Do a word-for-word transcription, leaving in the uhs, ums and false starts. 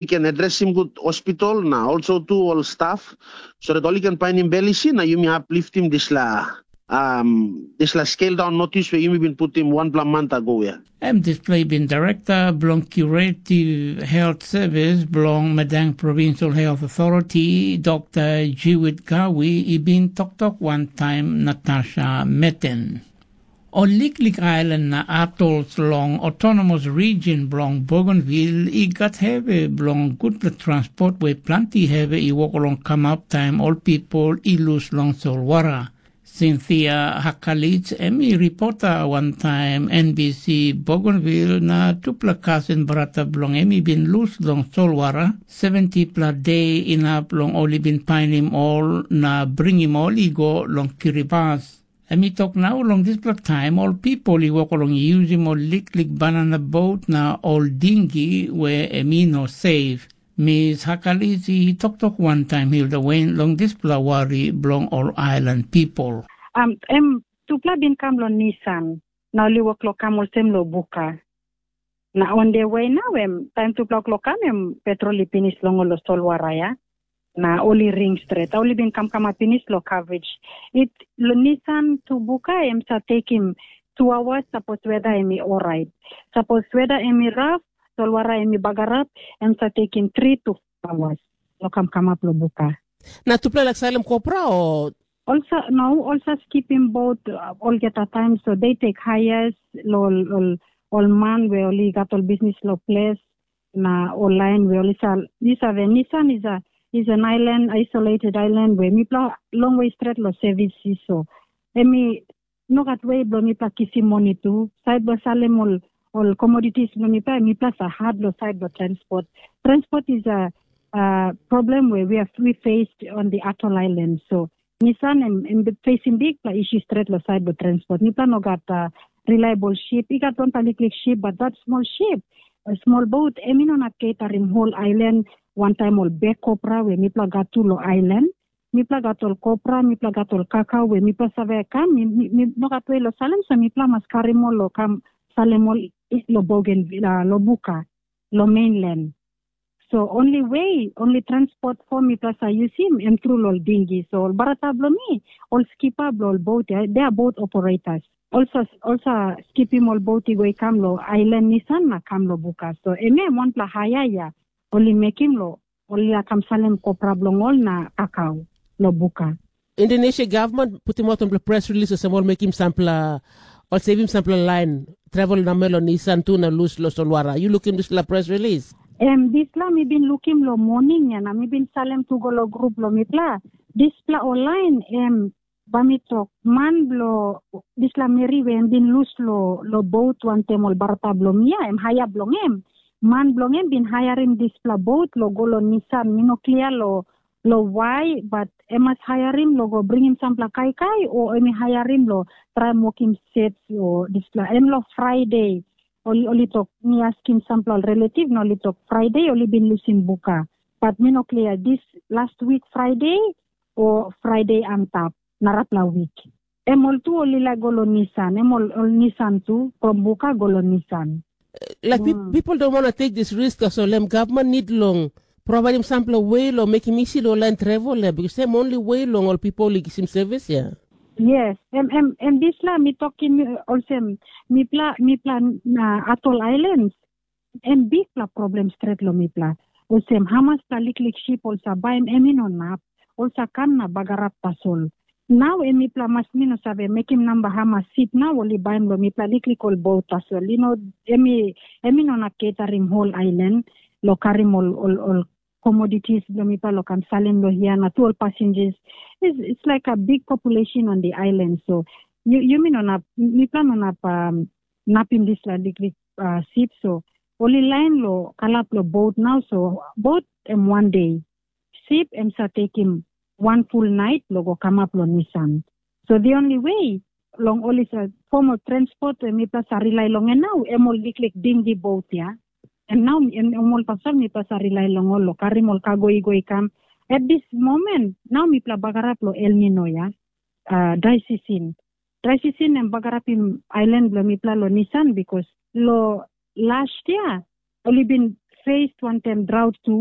i ken adresim gut hospital na also tu ol staf, so dat ol i ken painim bel isi na yumi hap liftim dispela um, dispela scale down notis we yumi bin putim wanpela manta go ya. Em dispela i bin direkta bilong Curative Health Service bilong Madang Provincial Health Authority, Dr. Jewett Gawi, i bin toktok wantaim Natasha Meten. Ol liklik ailan na atols long autonomous region bilong Bougainville i gat hevi bilong gutpela transport we planti hevi i wok long kamap taim ol pipul i lus long solwara. Cynthia Hakalich em i ripota wantaim N B C Bougainville na tupela kasin brata bilong em i bin lus long solwara seventipela de inap long ol i bin painim ol na bringim ol i go long Kiribati. Em i tok nau long dispela taim ol pipul i wok long yusim ol liklik banana bot na ol dingi we em i no seif. Mis Hakalis i toktok wantaim Hilda Wen long dispela wari bilong ol ailan pipul. Um, em tupela bin kam long Nisan, na ol i wok long kam olsem long buka. Na on de we nau em, taim tupela klok kam em petrol i pinis long ol solwara ya. Na ol i ring stret. Ol i bin kamkamap pinis long coverage. It, long Nisan tu buka em sa tekim tu awas sapos weda em i orait. Sapos weda em i raf, solwara em i bagarap, em sa tekim tri tu awas. Lo kamkamap lo buka. Na tupela laik salim kopra o? Olsa, no, olsa skipim bot uh, olgeta taim, so they take hires lo ol, ol, ol man we oli gat ol business lo ples, na ol lain we oli sa, you save, Nisan is a, is an island, isolated island, we mipla long way stret lo service, so emi no gat way blo mipla kisim moni tu. Side blo salim ol, ol commodities blo mipla, mipla sa hard lo side blo transport. Transport is a, a problem where we have we faced on the atoll island. So Nissan em, em facing big pla issue straight lo side lo transport. Mipla no gat uh, reliable ship. I gat one paliklik ship, but that small ship, a small boat, em i no nap catering whole island. One time ol big copra where mipla gat tu lo island. Mipla gat ol copra, mipla gat ol kakao where mipla save kam, mi, mi, mi no gat way lo salim, so mipla mas karim ol lo kam salim ol lo bogen, uh, lo buka, lo mainland. So only way, only transport form mipla sa yusim, em tru lo ol dingi. So ol barata blo mi, ol skipa blo ol boat, yeah, they are boat operators. Also, also skipim ol boat i go i kam lo island Nisan na kam lo buka. So em em wanpela haya ya, ol i mekim lo, ol i kam salim kopra bilong ol na kakao lo buka. Indonesia government putim out wanpela press release olsem ol mekim sampela, ol sevim sampela lain travel namel long Nisan tu na lus lo solwara. You lukim dispela press release? Em, dispela mi bin lukim lo morning ya na mi bin salem tu go lo grup lo mipela. Dispela ol lain em ba mi tok, man blo dispela meri we em bin lus lo, lo boat wantem ol barata blo mi ya, em haya bilong em. Man bilong em bin hayarim dispela boat lo go lo Nisan, mi no klia lo, lo wai, but em mas hayarim lo go bringim sampela kaikai, o em i hayarim lo traim wokim sets o dispela. Em lo Friday, ol, ol i tok, mi askim sampela ol relative, na ol i tok, Friday ol i bin lusim buka. But mi no klia, dis last week Friday o Friday antap, narapela wik. Em ol tu ol i laik go lo Nisan, em ol, ol Nisan tu, from buka go lo Nisan. Like, mm, people don't want to take this risk, so lem government need long providing sampela way lo mekim isi lo lain travel, eh, because em only way long ol people i kisim service ya. Yes, em, em, em disla mi tokim, eh, olsem, mipla, mipla na atol islands, em bikpela problem stret lo mipla. Olsem, hamaspela liklik sip ol sa baim em i no nap, ol sa kam na bagarap tasol. Nau em mipla mas mi no save mekim namba hamas sip nau ol i baim lo mipla liklik ol bot tasol. You know, em i, em i no nap ketarim whole island lo karim ol, ol, ol commodities blo mipla lo kam salim lo hia na tu ol passengers. It's, it's like a big population on the island. So you, you mean on up, mipla no nap um, napim dispela liklik uh, sip, so ol i lain lo kalap lo bot nau, so bot em wan de. Sip em sa tekim wan ful nait lo go kamap lo Nisan. So the only way long ol i sa form of transport em mipla sa rely long en nau, em ol liklik dingi bot ya. Em nau em, em ol pasal mipla sa rely long ol lo karim ol kago i go i kam. At this moment, nau mipla bagarap lo El Nino ya, uh, dry season. Dry season em bagarapim island blo mipla lo Nisan, because lo last year ol i bin faced wantaim drought tu.